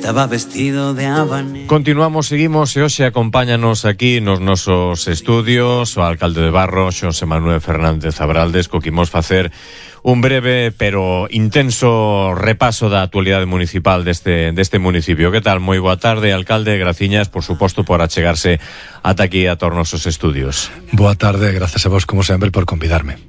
Estaba vestido de habanero. Seguimos e hoxe acompáñanos aquí nos nosos estudios o alcalde de Barro, Xosé Manuel Fernández Abraldes, co que imos facer un breve pero intenso repaso da actualidade municipal deste municipio. Que tal? Moi boa tarde, alcalde. Graciñas, por suposto, por achegarse ata aquí a todos os nosos estudios. Boa tarde, gracias a vos, como sempre, por convidarme.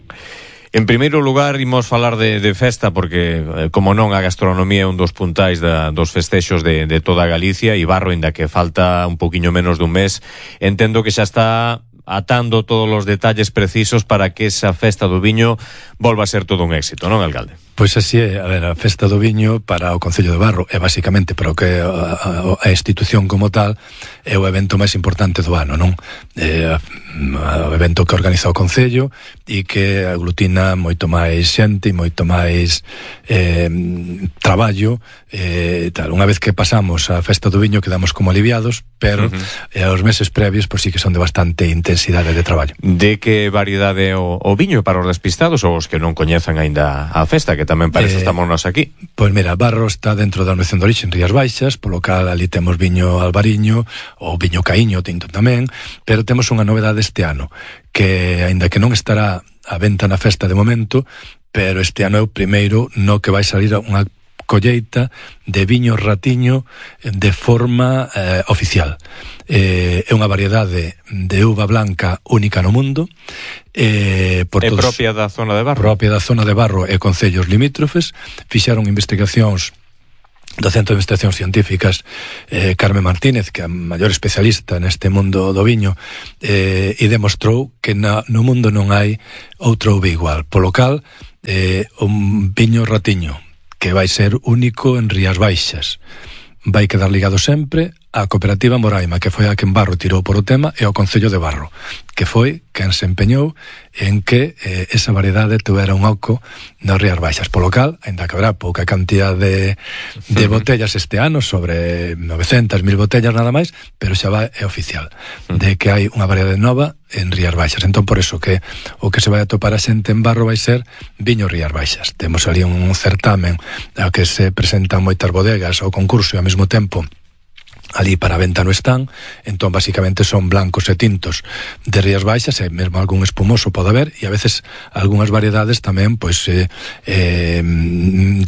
En primeiro lugar, imos falar de festa, porque, como non, a gastronomía é un dos puntais dos festexos de toda Galicia, e Barro, inda que falta un poquinho menos dun mes, entendo que xa está atando todos os detalles precisos para que esa festa do viño volva a ser todo un éxito, non, alcalde? Pois así é, a ver, a festa do viño para o Concello de Barro é basicamente para o que a institución como tal é o evento máis importante do ano, non? O evento que organiza o Concello e que aglutina moito máis xente e moito máis traballo tal. Unha vez que pasamos a festa do viño quedamos como aliviados, pero os meses previos pois sí que son de bastante intensidade de traballo. De que variedade o viño para os despistados ou os que non coñezan aínda a festa, que tamén parece estamos nós aquí? Pois mira, Barro está dentro da Denominación de Orixe en Rías Baixas, polo cal ali temos viño albariño ou viño caíño tinto tamén, pero temos unha novedade este ano, que aínda que non estará á venta na festa de momento, pero este ano é o primeiro no que vai salir unha colleita de viño ratiño de forma oficial. É unha variedade de uva blanca única no mundo. É propia da zona de Barro? Propia da zona de Barro e concellos limítrofes. Fixeron investigacións do Centro de Investigacións Científicas Carmen Martínez, que é a maior especialista neste mundo do viño, e demostrou que no mundo non hai outra uva igual. Polo cal, un viño ratiño que vai ser único en Rías Baixas. Vai quedar ligado sempre á cooperativa Moraima, que foi a que en Barro tirou por o tema, e ao Concello de Barro, que foi quen se empeñou en que esa variedade tuvera un oco nas Rías Baixas. Polo cal, ainda que haberá pouca cantidad de botellas este ano, sobre 900.000 botellas nada máis, pero xa é oficial de que hai unha variedade nova en Rías Baixas. Entón, por iso que o que se vai atopar a xente en Barro vai ser viño Rías Baixas. Temos ali un certamen ao que se presentan moitas bodegas ao concurso e ao mesmo tempo ali para a venta no stand. Entón basicamente son blancos e tintos de Rías Baixas, e mesmo algún espumoso pode haber, e a veces algunhas variedades tamén pois de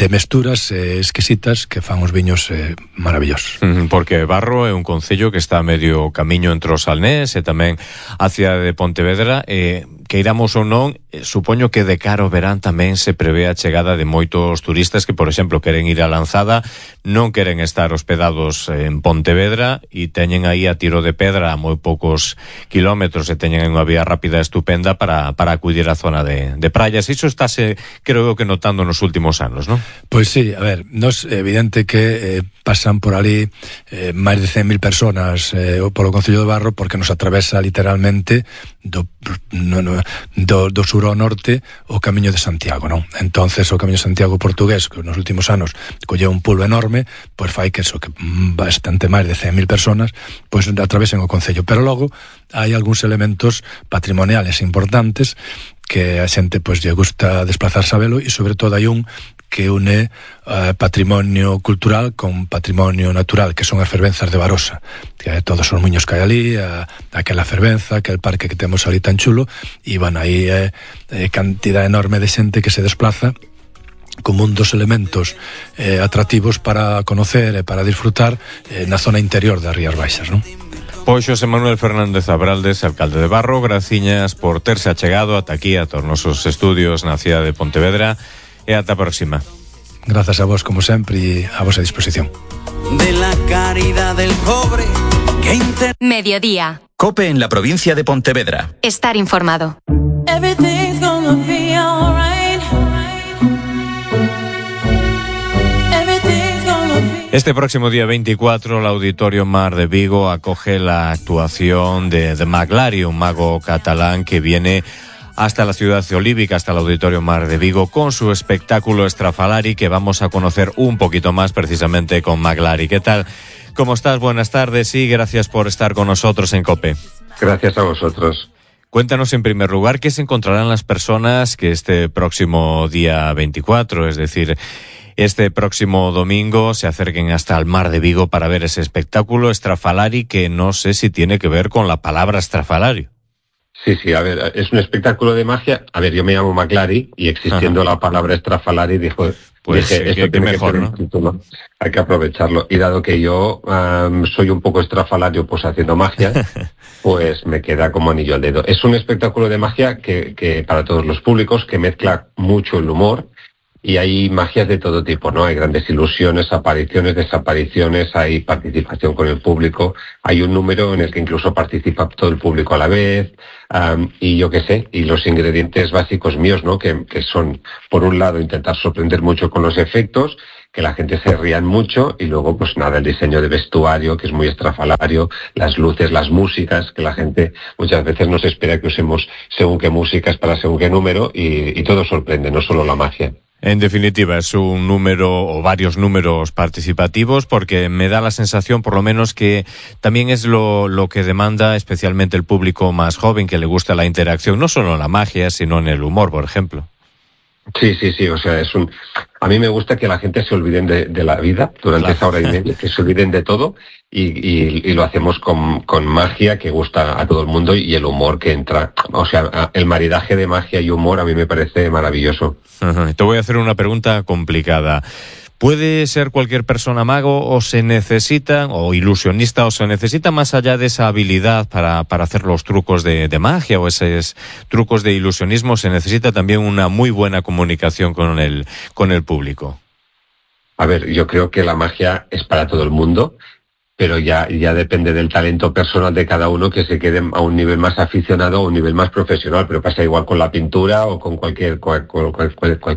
mesturas exquisitas que fan os viños maravillosos. Porque Barro é un concello que está a medio camiño entre o Salnés e tamén a cidade de Pontevedra, que iramos ou non, supoño que de cara ao verán tamén se prevé a chegada de moitos turistas que, por exemplo, queren ir a Lanzada, non queren estar hospedados en Pontevedra e teñen aí a tiro de pedra a moi poucos kilómetros e teñen unha vía rápida estupenda para acudir á zona de praias. Iso estáse, creo que, notando nos últimos anos, non? Pois sí, a ver, nos é evidente que pasan por ali máis de 100.000 personas polo Concello de Barro, porque nos atravesa literalmente do sur ao norte o Camiño de Santiago, non? Entonces o Camiño de Santiago portugués, que nos últimos anos colleu un pulo enorme, pois fai que eso, que bastante máis de 100.000 personas pois atravesen o concello. Pero logo hai algúns elementos patrimoniales importantes que a xente pois lle gusta desplazarse a velo, e sobre todo hai un que une patrimonio cultural con patrimonio natural, que son as fervenzas de Barosa, que todos os muiños que hai ali, aquela fervenza, aquel parque que temos ali tan chulo, e van aí cantidad enorme de xente que se desplaza como un dos elementos atractivos para conocer e para disfrutar na zona interior das Rías Baixas, non? Pois Xosé Manuel Fernández Abraldes, alcalde de Barro, graciñas por terse achegado ata aquí a todos os nosos estudios na cidade de Pontevedra, e ata a próxima. Grazas a vos, como sempre, e a vosa disposición. De la caridad del pobre que Mediodía. COPE en la provincia de Pontevedra. Estar informado. Everything's gonna be alright. Everything's gonna be... Este próximo día 24, el Auditorio Mar de Vigo acoge la actuación de The Maglari, un mago catalán que viene hasta la ciudad olívica, hasta el Auditorio Mar de Vigo, con su espectáculo Estrafalari, que vamos a conocer un poquito más precisamente con Maglari. ¿Qué tal? ¿Cómo estás? Buenas tardes y gracias por estar con nosotros en COPE. Gracias a vosotros. Cuéntanos en primer lugar qué se encontrarán las personas que este próximo día 24, es decir, este próximo domingo se acerquen hasta el Mar de Vigo para ver ese espectáculo Estrafalari, que no sé si tiene que ver con la palabra estrafalario. Sí, a ver, es un espectáculo de magia. A ver, yo me llamo Maclari y existiendo la palabra estrafalari dije, esto tiene mejor, que ser un título, hay que aprovecharlo. Y dado que yo soy un poco estrafalario pues haciendo magia, pues me queda como anillo al dedo. Es un espectáculo de magia que para todos los públicos, que mezcla mucho el humor, y hay magias de todo tipo, ¿no? Hay grandes ilusiones, apariciones, desapariciones, hay participación con el público, hay un número en el que incluso participa todo el público a la vez, y yo qué sé, y los ingredientes básicos míos, ¿no? Que son, por un lado, intentar sorprender mucho con los efectos, que la gente se rían mucho, y luego, pues nada, el diseño de vestuario, que es muy estrafalario, las luces, las músicas, que la gente muchas veces no se espera que usemos según qué músicas para según qué número, y todo sorprende, no solo la magia. En definitiva, es un número o varios números participativos, porque me da la sensación, por lo menos, que también es lo que demanda especialmente el público más joven, que le gusta la interacción, no solo en la magia, sino en el humor, por ejemplo. Sí, o sea, a mí me gusta que la gente se olviden de la vida durante esa hora y media, que se olviden de todo, y lo hacemos con magia que gusta a todo el mundo, y el humor que entra. O sea, el maridaje de magia y humor a mí me parece maravilloso. Te voy a hacer una pregunta complicada. ¿Puede ser cualquier persona mago, o se necesita, o ilusionista, o se necesita más allá de esa habilidad para hacer los trucos de magia o esos trucos de ilusionismo, se necesita también una muy buena comunicación con el público? A ver, yo creo que la magia es para todo el mundo, pero ya depende del talento personal de cada uno, que se quede a un nivel más aficionado o un nivel más profesional, pero pasa igual con la pintura o con cualquier